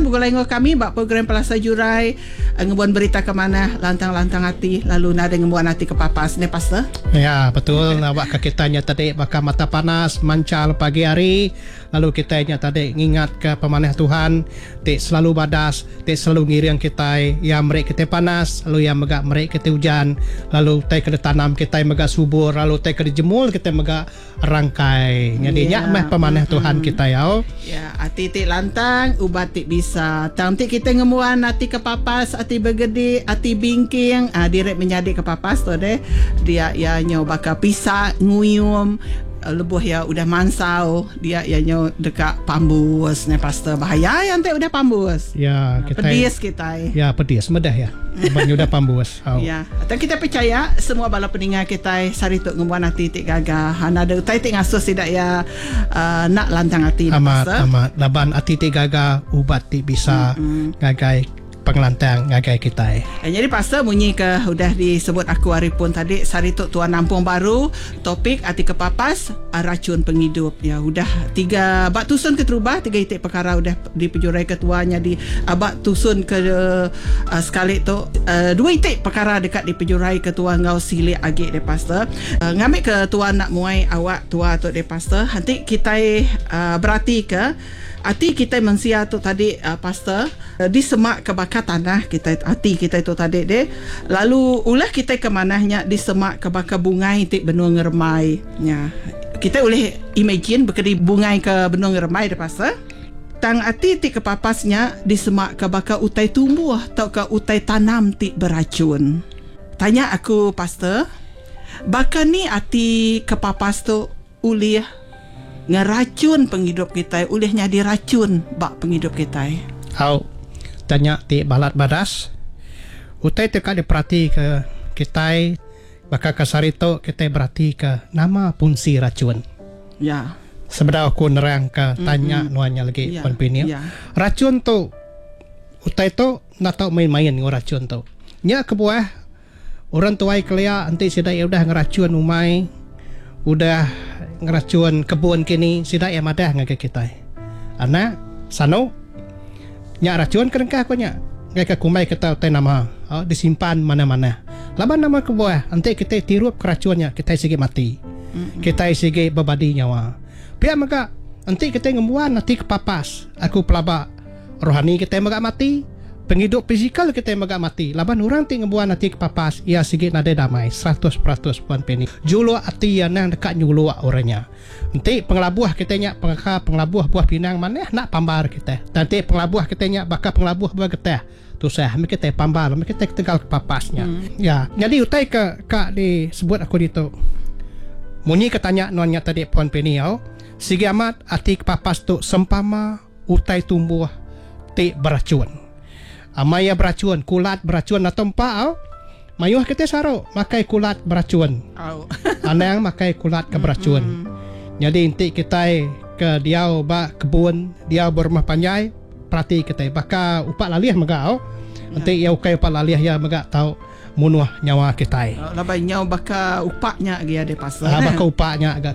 Seruran begulai enggau kami ba program Pelasar Jurai ngembuan berita ke manah, lantang-lantang ati lalu nadai ngembuan ati ke papas neh pastor. Ya betul awakka kita nya tadi baka mata panas manchal pagi hari lalu kitai nya tadi ngingatka pemanah Tuhan ti selalu badas ti selalu ngiring kitai iya meri kitai panas lalu iya mega meri kitai ujan lalu utai ke ditanam kitai mega subur lalu utai ke dijemul kitai mega rangkai. Nyadi nya meh pemanah Tuhan kitai au. Ya, ati ti lantang, ubat ti bisa. Tang enti kitai ngembuan ati kepapas, ati begedi, ati bingking, ah diri menyadi kepapas tu deh. Dia iya nyau baka pisa nguyum lebuh iya udah mansau, dia iya nyau deka pambus. Neh pastor, bahaya iya enti udah pambus. Ya, kitai. Pedis kitai. Ya, pedis meda iya. Laban nyudah pambus. Au. Ya. Tang kitai pechaya semua bala peninga kitai sehari tu ngembuan ati ti gaga. Enda ada utai ti ngasuh sida iya enda lantang ati dah Amat pastor. amat laban ati ti gaga ubat ti bisa ngagai pengelantang ngagai kitai. Nyadi pastor munyi ke udah disebut aku ari pun tadi sehari tu tuan nampung baru topik ati kepapas rachun pengidup. Ya udah tiga ba tusun keterubah tiga iti pekara udah Dipejuraika tua nyadi aba tusun ke sekali tu dua iti pekara deka dipejuraika tua enggau silik agi deh pastor. Ngambika tua enda muai awak tua tu deh pastor. Enti kitai beratika ati kitai mensia tu tadi pastor disemaka baka tanah kitai ati kitai tu tadi deh lalu ulah kitai ke manah nya disemaka baka bungai ti benung ngerembai. Nya kitai ulih imagine bekedi bungai ke benung ngerembai deh pastor. Tang ati ti kepapas nya disemaka baka utai tumbuh tauka utai tanam ti berachun. Tanya aku, Pastor, baka ni ati kepapas tu ulih ngerachun pengidup kitai, ulih nyadi rachun ba pengidup kitai? Au, tanya ti balat badas. Utai ti ka diperatika kitai baka ke sehari tu kitai beratika nama fungsi rachun. Ya. Sebedau aku nerangka tanya nuan nya lagi Puan Pini. Rachun tu utai tu enda tau main-main enggau rachun tu. Nya kebuah orang tuai kelia enti sida iya udah ngerachun umai, udah ngerachun kebun kini sida iya madah ngagai kitai. Anak, sanu nya rachun ke nengkah ku nya. Ngagai kumbai kita utai nama disimpan manah-manah. Laban nama kebuah enti kitai tirup ke rachun nya kitai sigi mati. Kitai sigi bebadi nyawa. Pia mega enti kitai ngembuan ati kepapas aku pelaba rohani kitai mega mati, pengidup fizikal kitai mega mati laban orang ti ngembuan ati kepapas iya sigi nadai damai 100% Puan Penny. Juluk ati iya nang deka nyuluk orang nya. Enti pengelabuh kitai nya baka pengelabuh buah pinang manah enda pambar kitai. Tang enti pengelabuh kitai nya baka pengelabuh buah getah. Tusah meh kitai pambal meh kitai ketegal kepapas nya. Ya, nyadi utai ke ka disebut aku ditu. Munyi ke tanya nuan nya tadi Puan Penny au, sigi amat ati kepapas tu sempama utai tumbuh ti berachun. Amai iya berachun, kulat berachun atau empa au. Mayuh kitai saru makai kulat berachun. Anang makai kulat ke berachun. Nyadi enti kitai ke diau ba kebun, diau ba rumah panjai, perati kitai baka upak lalih mega au. Enti iya ukai upak lalih iya mega tau munuh nyawa kitai. Laban nyau baka upak nya agi ada pasal. Ha baka upak nya ga.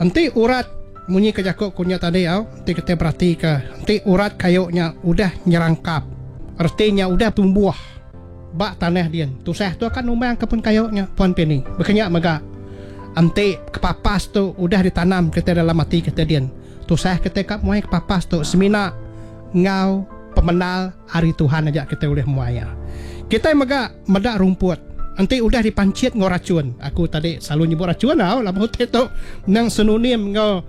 Enti urat munyi ke jaku ku nya tadi au, enti kitai beratika enti urat kayu nya udah nyerangkap reti nya udah tumbuh. Ba tanah din, tusah tu akan numbang ke pun kayu nya, Puan Penny. Baka nya mega, enti kepapas tu udah ditanam kitai dalam ati kitai din, tusah kitai ka muai kepapas tu semina enggau pemendar ari Tuhan aja kitai ulih muai iya. Kitai mega meda rumput enti udah dipanchit enggau rachun. Aku tadi selalu nyebut rachun tau laban utai tu endang sinonim enggau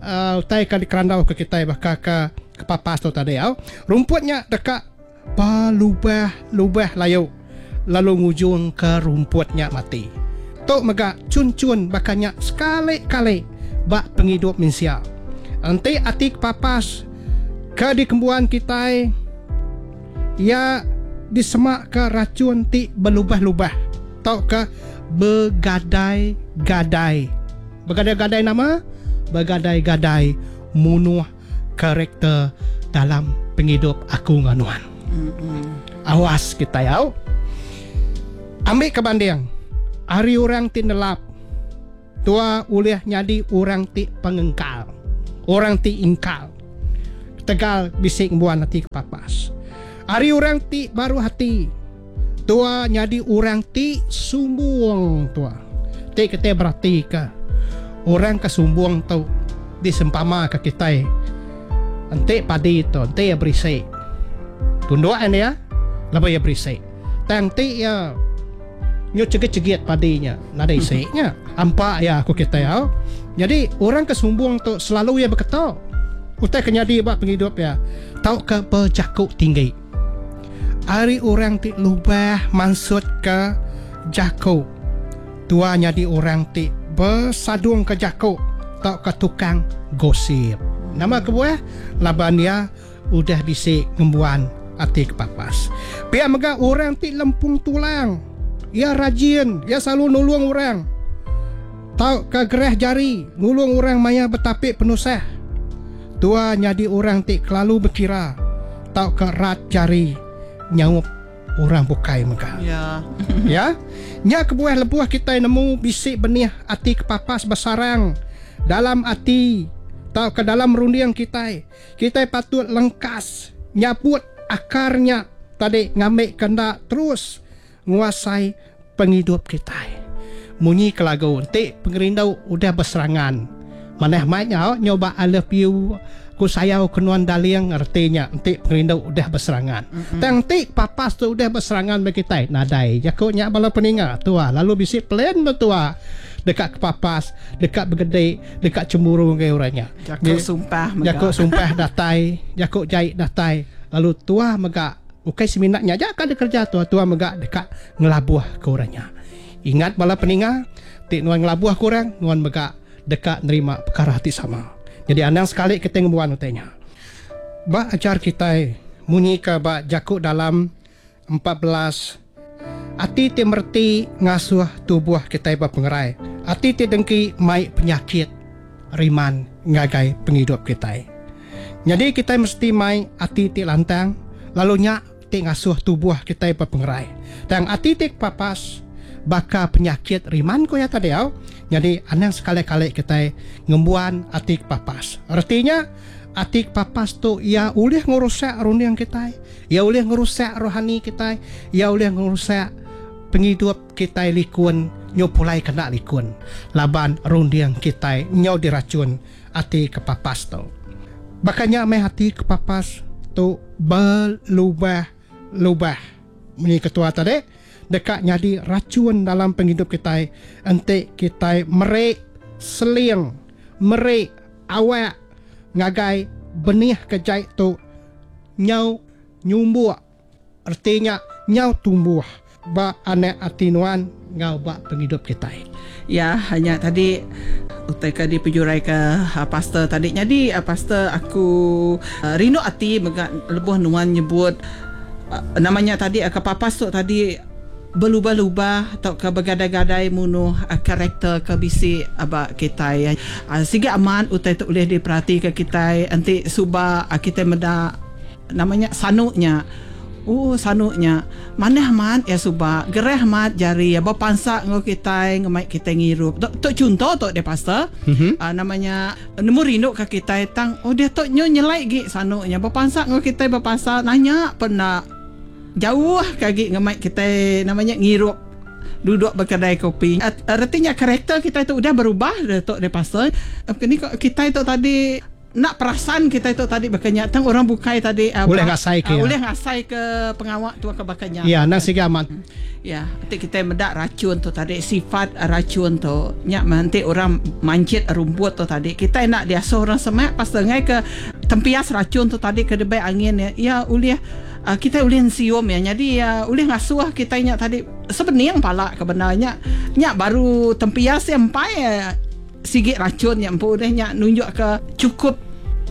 uhh utai ka dikerandau ke kitai baka ke kepapas tu tadi au. Rumput nya deka Ba lubah-lubah layu lalu ngujungka rumput nya mati. Tu mega chun-chun baka nya sekali-kali ba pengidup mensia. Enti ati kepapas ke dikembuan kitai iya disemaka rachun ti belubah-lubah tauka begadai-gadai. Begadai-gadai nama? Begadai-gadai munuh karakter dalam pengidup aku enggau nuan. Awas kitai au. Ambi ke banding, ari orang ti nelap, tua ulih nyadi orang ti pengengkal, orang ti ingkal. Ketegal bisi ngembuan ati kepapas. Ari orang ti baruh ati, tua nyadi orang ti sumbung tua. Ti kitai beratika, orang ke sumbung tu disempamaka kitai enti padi tu enti iya berisi. Tunduk ain iya lebuh iya berisi. Tang enti iya nyu chegit-chegit padi nya nadai isi nya. Ampa iya ku kitai au. Nyadi orang ke sumbung tu selalu iya beketo utai ke nyadi ba pengidup iya tauka bejaku tinggi. Ari orang ti lubah mansutka jaku tua nyadi orang ti besadungka jaku tauka tukang gosip. Nama kebuah? Laban iya udah bisi ngembuan ati kepapas. Pia mega orang ti lempung tulang, iya rajin, iya selalu nulung orang tauka gerah jari nulung orang maya betapi penusah. Tua nyadi orang ti kelalu bekira tauka rat jari nyaup orang bukai mega. Ya. Ya. Nya kebuah lebuh kitai nemu bisi benih ati kepapas besarang dalam ati tauka dalam runding kitai, kitai patut lengkas nyabut akar nya tadi ngambika enda terus nguasai pengidup kitai. Munyi ke lagu enti pengerindu udah beserangan. Manah mai nya nyoba I love you ku sayau ke nuan darling reti nya enti pengerindu udah beserangan. Tang enti papas tu udah beserangan ba kitai nadai jaku nya bala peninga tua lalu bisi plan ba tua deka kepapas deka begedi deka chemburu ngagai orang nya. Jaku sumpah mega. Jaku sumpah datai jaku jai datai lalu tua mega Ukai semina nya aja ka dikereja tua, tua mega deka ngelabuh ke orang nya. Ingat bala peninga, ti nuan ngelabuh ke orang, nuan mega deka nerima pekara ti sama. Nyadi anang sekali kitai ngembuan utai nya. Ba ajar kitai munyi ka ba jaku dalam 14, ati ti mereti ngasuh tubuh kitai bepengerai, ati ti dengki mai penyakit riman ngagai pengidup kitai. Nyadi kitai mesti mai ati ti lantang lalu nya ti ngasuh tubuh kitai bepengerai. Tang ati ti kepapas baka penyakit riman ku iya tadi au. Nyadi anang sekali-kali kitai ngembuan ati kepapas. Reti nya ati kepapas tu iya ulih ngerusak runding kitai, iya ulih ngerusak rohani kitai, iya ulih ngerusak pengidup kitai likun nyu pulai kena likun laban runding kitai nyau dirachun ati kepapas tu. Baka nya meh ati kepapas tu belubah-lubah munyi ketua tadi deka nyadi rachun dalam pengidup kitai enti kitai meri seling meri awak ngagai benih ke jai tu nyau nyumbuk. Reti nya nyau tumbuh ba anak ati nuan enggau ba pengidup kitai. Ya, nya tadi utai ke dipejuraika pastor tadi. Nyadi pastor aku rindu ati mega lebuh nuan nyebut nama nya tadi ke papas tu tadi belubah-lubah tauka begadai-gadai munuh karakter ke bisi ba kitai. Sigi amat utai tu ulih diperatika kitai enti suba kitai meda. Nama nya sanu nya. Ooh sanu nya. Manah amat iya suba. Gerah amat jari iya bepansa enggau kitai ngemai kitai ngirup. Tu tu chunto tu deh pastor. Uhh nama nya nemu rindu ka kitai tang oh diatu nyu nyelai gi sanu nya bepansa enggau kitai bepasa nanya pen enda jauh ke agi ngemai kitai nama nya ngirup duduk ba kedai kopi. Reti nya karakter kitai tu udah berubah diatu deh pastor. Ni ko kitai tu tadi. Enda perasan kitai tu tadi baka nya tang orang bukai tadi ulih ngasai ke ulih ngasai ke pengawa tu ke baka nya. Ya endang siga amat. Ya enti kitai meda rachun tu tadi sifat rachun tu nya meh enti orang manchit rumput tu tadi kitai enda diasuh orang semak pasal enggai ke tempias rachun tu tadi ke dibai angin iya iya ulih kitai ulih ensium iya nyadi iya ulih ngasuh kitai nya tadi sebening pala ke bendar nya nya baru tempias iya empai. Sigi rachun nya empu deh nya nunjukka chukup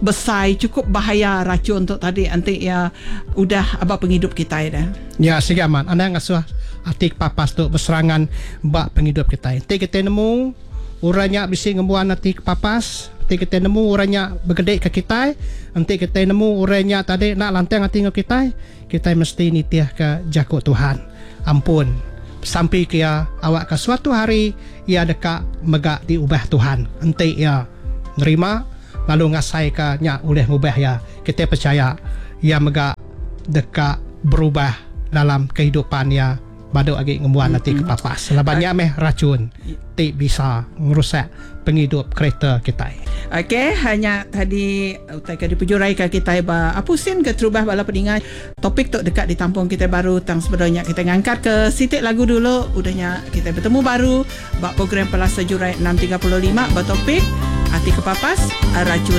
besai chukup bahaya rachun tu tadi enti iya udah aba pengidup kitai deh. Ya sigi amat anang ngasuh ati kepapas tu beserangan ba pengidup kitai. Enti kitai nemu orang nya bisi ngembuan ati kepapas, enti kitai nemu orang nya begedi ke kitai, enti kitai nemu orang nya tadi enda lantang ati enggau kitai, kitai mesti nitihka jaku Tuhan. Ampun. Besampi ke iya awakka suatu hari iya deka mega diubah Tuhan enti iya nerima lalu ngasaika nya ulih ngubah iya, kitai pechaya iya mega deka berubah dalam kehidupan iya badu agi ngembuan ati kepapas laban nya meh rachun ti bisa ngerusak pengidup kereta kitai. Okey, nya tadi utai ke dipejuraika kitai ba apusin keterubah bala peninga. Topik tu deka ditampung kitai baru tang sebedau nya kitai ngangkatka siti lagu dulu udah nya kitai betemu baru ba program Pelasa Jurai 6.35 ba topik Ati Kepapas, Rachun.